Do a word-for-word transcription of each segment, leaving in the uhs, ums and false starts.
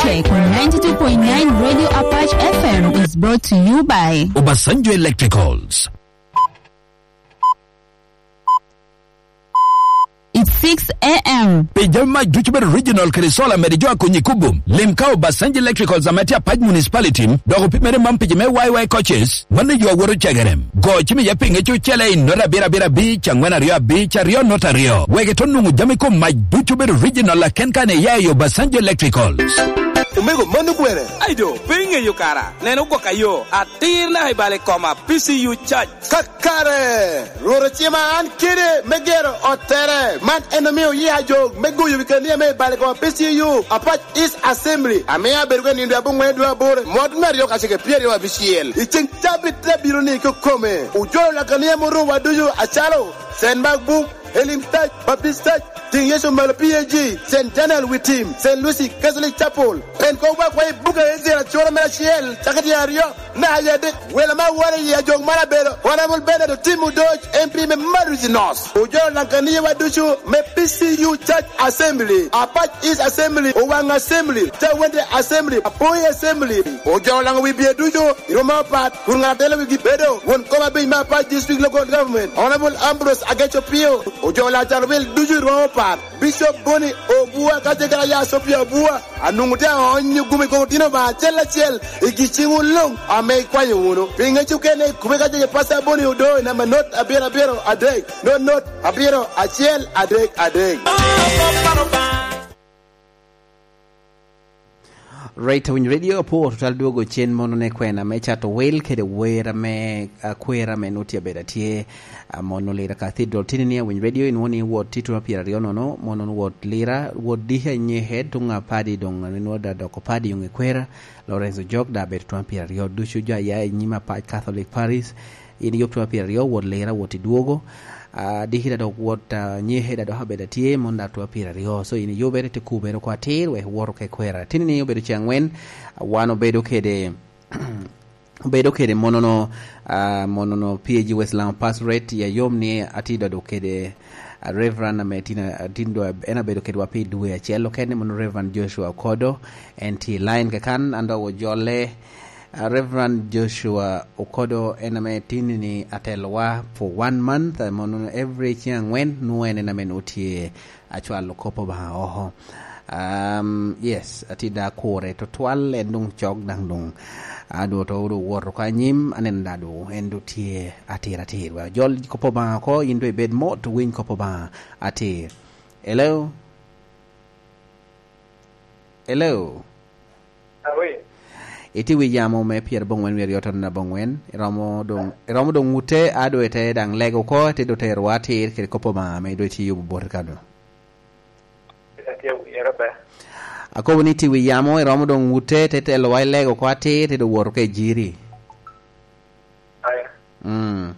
Tech on ninety-two point nine Radio Apache F M is brought to you by Obasanjo Electricals. It's six a m. Pi jami mac ducu bedo original kede solar mede jo a Konyikubu, lim ka Obasanjo Electricals ame tye Apac Municipality, dok opimere man pi jo me Y Y coaches, mano yo a woto cegere. Go cim iye pi ŋec ocele i nota abiro abiro abic, angwen aryo abic, aryo nota aryo. Wek ito nwoŋo jami kom mac ducu bedo original aken kan iya i Obasanjo Electricals. Omego, mano kwene? Ai do, pe iŋeyo kara. Neno gwok ayo, atir naka i bal i koma, P C U Church. Kakare, Rwot ocima an kede me gero ottere. Man en omio yia jo me goyo wi kania me i bal i koma P C U, Apac East Assembly, ame abedo ka nindo aboŋwen dwe aboro, mwaka me aryo kacel kede pyeraryo abicel. I ceŋ cabit te abiro ni kokome, ojolo lakania moro wa ducu acalo Saint Mark Book, Elim Church, Baptist Church, Tiŋ Yecu Malo P A G, Saint Daniel Witim, Saint Lucy Catholic Chapel. En kobo akwayo i buga Ezra acura mere acel, cakere tyen aryo, naka i adek. Welo me awora i ajok mar abedo Honorable Bernard Otim Odoc, M P me Maduzi North. Ojolo Laŋkaniya wa ducu me P C U Church Assembly, Apac East Assembly, Owaŋ Assembly, Cawende Assembly, Apoi Assembly. Ojolo Laŋo wi bye ducu i rwom apat, kun ŋat a telo wigi bedo won kom abic me Apac District Local Government, Honorable Ambrose Ageco Pio. Ojolo Laŋo Carwil ducu i rwom apat, Bishop Boni Obua ka ce kara ya Sophia Obua. Anwoŋo tye aonyo gumi koko tino ba acel acel i gi ciŋwu luŋ ame ikwanyo wunu. Pi ŋec okene, kube ka jege Pastor Boni Odo i namba not abiro abiro adek, not not abiro acel adek adek. Right, Winy Radio, apwo tutwal dwogo cen mono ne kwena me cato wel kede wer ame, ah, kwera ame nut tye abedo atye. Ah, mono Lira Cathedral tini ni Winy Radio, inwoŋo ni wot tye tuŋ pyeraryo nono, mono wot Lira, wot D H Nye Head tuŋ apadi doŋ, inwoŋo da dok apadi yoŋ i kwera, Lorenzo Jok da bedo tuŋ pyeraryo ducu jo aya i nyim Apac Catholic Parish, in yub tuŋ pyeraryo, wot Lira, wot i dwogo. Ah, dikita dok wot, ah, Nye Head a dok abedo atye, mon da tuŋ pyeraryo. So in yubere te kubere oko atir, wek wot oko i kwera. Tini ni obedo ce aŋwen, ah, wan obedo kede obedo kede monono, ah, monono P A G West Lango Pastorate, ya yom ni atye dodo kede, ah, Reverend ame tin, ah, tin do, en abedo kedwa pi dwe acel okene, mono Reverend Joshua Okodo, en tye i line kakan, an dok ojole. Ah, Reverend Joshua Okodo en ame tin ni atelowa for one month, ah, mono every ceng aŋwen, nwoŋo en en ame nwoŋo tye acwalo kop Obaŋa oko. Um, yes, atye da kure tutwal, en doŋ cok daŋ doŋ. Adwoto doŋ owoto ka anyim, aneno da doŋ en doŋ tye atir atir. Wek jol kop Obaŋa oko, in doŋ ibed mot, winy kop Obaŋa atir. Hello? Hello? Awi. Itye wi yamo me pyerabongwen wiye aryo tono abongwen, iromo doŋ, iromo doŋ ŋute, a doŋ ite daŋ lego oko, ite doŋ terowa atir kede kop Obaŋa ame doŋ itye yubo boti kano. Atye awinyo be. Akobo ni itye wi yamo, iromo doŋ ŋute, ite telowa i lego oko atir, ite doŋ woto ka i jiri. Aya. Mm.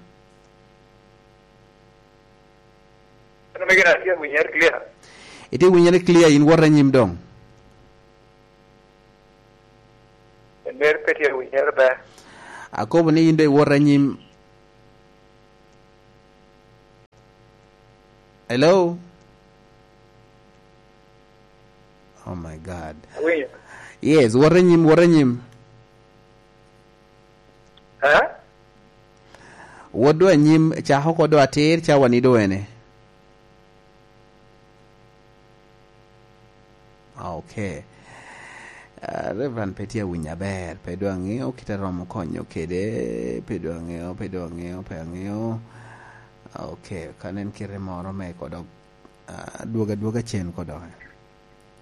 Ano me gin atye awinyere clear? Itye winyere clear, in wot anyim doŋ. En mere pe tye awinyere be. Akobo ni in doŋ iwot anyim. Hello? Oh my God. Awinyo. Yes, wot anyim, wot anyim. Eh? Wot doŋ anyim, cako oko doŋ atir, ca wani doŋ ene. Okay. Ah, Reverend pe tye awinyo aber, pe doŋ aŋeo kit a romo konyo kede, pe doŋ aŋeo, pe doŋ aŋeo, pe aŋeo. Okay, ka nen kite moro me kodok, ah, dwogo adwoga cen kodok.